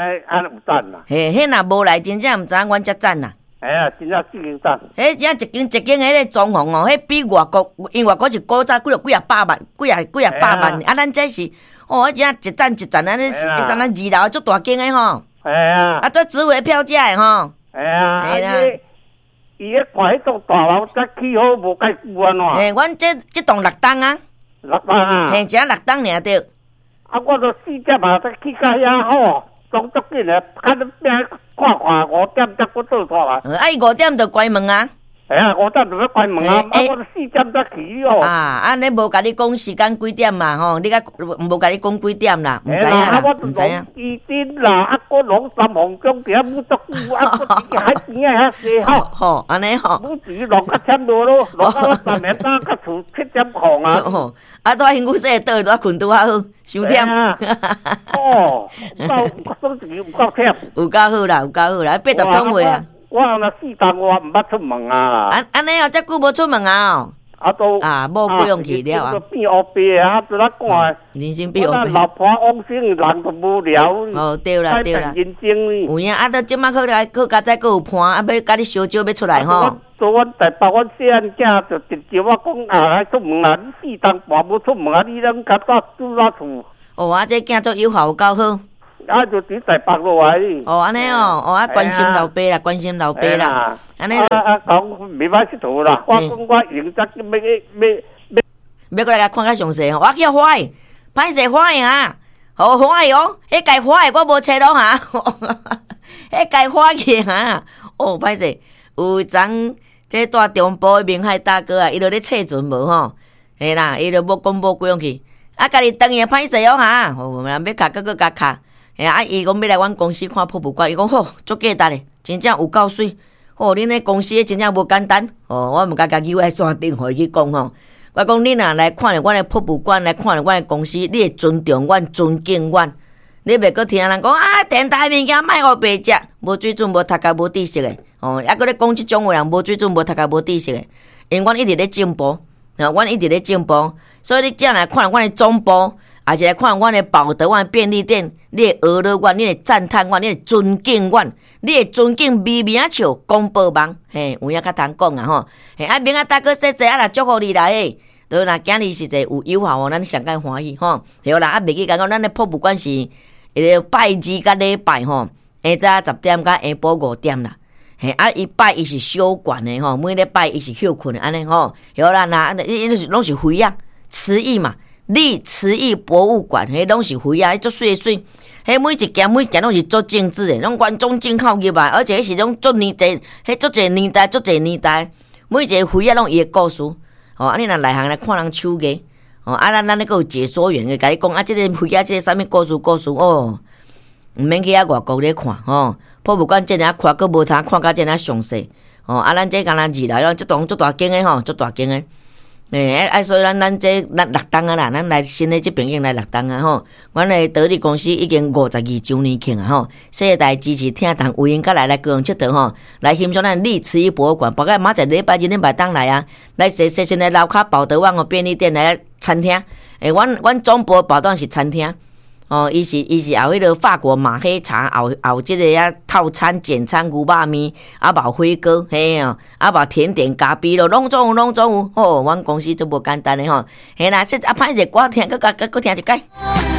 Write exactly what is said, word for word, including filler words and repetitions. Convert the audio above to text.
呢按呢有讚啦。嘿，彼若無來，真正毋知影阮遮讚啦。哎呀，真正四間讚。彼真正一間一間彼个裝潢哦，彼比外國，因為外國是古早幾若幾若百萬，幾若幾若百萬，啊，咱這是，哦，真正一層一層按呢，一層咱二樓足大間的吼。哎呀。啊，做值回票價的吼。哎呀。嘿啦。伊咧看彼棟大樓才起好無蓋久按怎？嘿，阮這這棟六棟啊。六棟啊。嘿，才六棟爾對。啊，我都四點啊，才去到遐吼，總足緊的，較你變看看五點才閣倒出來。啊，伊五點就關門啊。哎呀，五點就欲關門啊！啊，我都四點才去哦。啊，按呢無共你講時間幾點嘛吼？你較無共你講幾點啦？毋知影啦，毋知影。伊陣啦，啊，閣攏三鳳宮佇遐舞足久，啊，閣佇海邊仔遐踅吼。吼，按呢吼。舞池落較忝落咯，落到我三暝早到厝七點空啊。啊，拄仔身軀洗倒，拄仔睏拄仔好，傷忝。哦，有夠，算一有夠忝。有夠好啦，有夠好啦，八十通話啊。我若四冬我毋捌出門啊！按按呢哦，遮久無出門啊！啊都啊，某過用去了啊！變烏白啊，做哪看？人生變烏白。老婆往生，人就無聊。哦，對啦對啦。人生有影啊！都這馬好來，好佳哉，閣有伴啊，欲共你相招欲出來吼。做阮台北，阮細漢囝就直接我講啊，來出門啊！你四冬半無出門啊，你攏較早住哪厝？哦，啊，這囝足友好，有夠好。啊，就佇台北落來。哦，按呢哦，哦啊，關心老爸啦，關心老爸啦，按呢。啊啊，講袂歹𨑨迌啦，我講我用才欲欲欲欲過來共看較詳細吼，我叫歡喜，歹勢歡喜啊，好歡喜哦，彼屆歡喜我無揣咯哈，彼屆歡喜哈，哦，歹勢，有一欉這蹛中部的明海大哥啊，伊就咧冊船無吼，嘿啦，伊就欲講無幾樣去，啊，家己轉去歹勢哦哈，哦，欲卡閣閣共卡。嘿啊！伊講欲來阮公司看博物館，伊講好，足價值的，真正有夠媠。吼，恁的公司真正無簡單。哦，我毋敢共伊喺線頂予伊去講吼。我講你若來看著阮的博物館，來看著阮的公司，你會尊重阮、尊敬阮。你袂閣聽人講啊，電台物件莫予白食，無水準、無讀冊、無知識的。哦，猶閣咧講這種話人無水準、無讀冊、無知識的。因為阮一直咧進步，啊，阮一直咧進步，所以你才來看阮的總部。抑是來看阮的寶德阮便利店，你會學了阮，你會讚嘆阮，你會尊敬阮，你會尊敬微微仔笑廣播網，嘿，有影較通講啊吼，嘿，啊明仔大哥說說啊，若祝福你啦嘿，對啦，今日實在有友好哦，咱上蓋歡喜吼，對啦，啊袂記講咱的博物館是彼个拜二佮禮拜吼，下早十點到下晡五點啦。嘿，啊，伊拜一是小館的吼，每禮拜一是歇睏的按呢吼，好啦，若伊伊攏是魚仔，瓷藝嘛。立瓷藝博物館，彼攏是魚仔，彼足媠媠，彼每一件每一件攏是足精緻的，攏原裝進口入來，而且彼是攏足年代，彼足濟年代，足濟年代，每一个魚仔攏有伊的故事。吼，啊，你若內行來看人手藝，吼，啊，咱咱咧閣有解說員會共你講啊，這个魚仔這个啥物故事故事哦，毋免去遐外國咧看吼，博物館遮爾寬，閣無通看甲遮爾詳細，吼，啊，咱這敢若二樓，這棟足大間的吼，足大間的。欸，啊，所以咱咱這咱六棟啊啦，咱來新的這邊已經來六棟啊吼。阮的得力公司已經五十二週年慶啊吼，世代支持聽筒有閒閣來來高雄𨑨迌吼，來欣賞咱立瓷藝博物館。包括明仔載禮拜日、禮拜當來啊，來踅踅踅來樓跤寶德旺哦便利店來餐廳。欸，阮阮總部寶德是餐廳。哦，伊是伊是後彼个法國馬黑茶，後後這个啊套餐簡餐牛肉麵，啊嘛火鍋，嘿哦，啊嘛甜點咖啡咯，攏總有攏總有。吼，阮公司足無簡單的吼。嘿啦，說啊歹勢，歌聽閣閣閣聽一擺。